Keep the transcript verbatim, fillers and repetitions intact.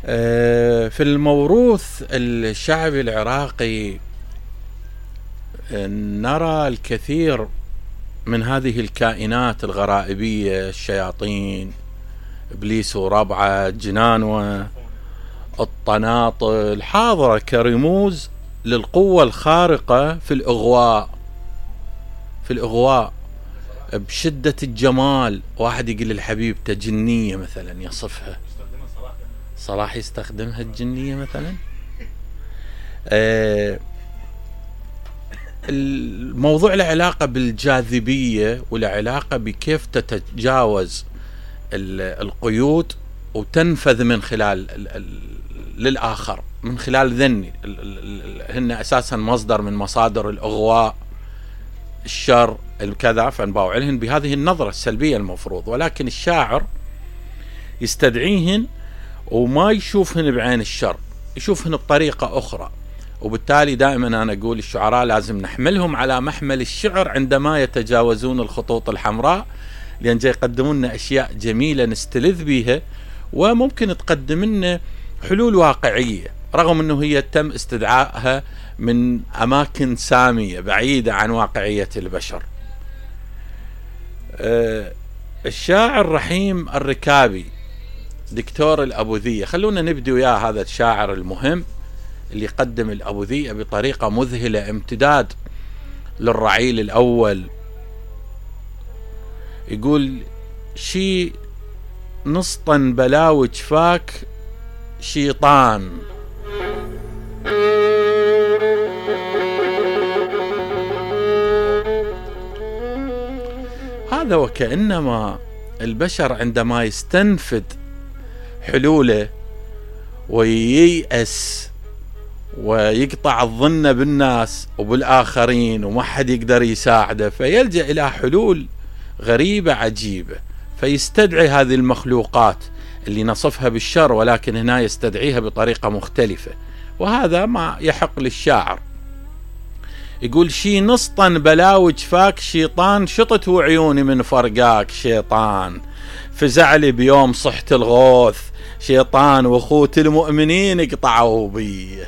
في الموروث الشعبي العراقي نرى الكثير من هذه الكائنات الغرائبية، الشياطين، إبليس وربعه، جنانوة، الطناطل، حاضرة كرموز للقوة الخارقة في الإغواء في الإغواء بشدة الجمال. واحد يقول للحبيبته جنية مثلا يصفها، صلاح يستخدمها الجنية مثلا. آه الموضوع له علاقة بالجاذبية وله علاقة بكيف تتجاوز القيود وتنفذ من خلال للآخر، من خلال ذني هن أساسا مصدر من مصادر الإغواء، الشر، الكذا، فنباوع لهن بهذه النظرة السلبية المفروض. ولكن الشاعر يستدعيهن وما يشوفهن بعين الشر، يشوفهن بطريقة أخرى. وبالتالي دائما أنا أقول الشعراء لازم نحملهم على محمل الشعر عندما يتجاوزون الخطوط الحمراء، لأن جاي يقدمون لنا أشياء جميلة نستلذ بها، وممكن تقدم لنا حلول واقعية رغم أنه هي تم استدعائها من أماكن سامية بعيدة عن واقعية البشر. أه الشاعر رحيم الركابي دكتور الأبوذية، خلونا نبدأ وياه هذا الشاعر المهم اللي يقدم الأبوذية بطريقة مذهلة، امتداد للرعيل الأول. يقول شي نسطن بلاو جفاك شيطان، هذا وكأنما البشر عندما يستنفد حلوله وييأس ويقطع الظن بالناس وبالآخرين وما حد يقدر يساعده، فيلجأ إلى حلول غريبة عجيبة، فيستدعي هذه المخلوقات اللي نصفها بالشر، ولكن هنا يستدعيها بطريقة مختلفة، وهذا ما يحق للشاعر. يقول شي نسطن بلاوج فاك شيطان، شطت وعيوني من فرقاك شيطان، فزعلي بيوم صحت الغوث شيطان، واخوت المؤمنين قطعوا بي.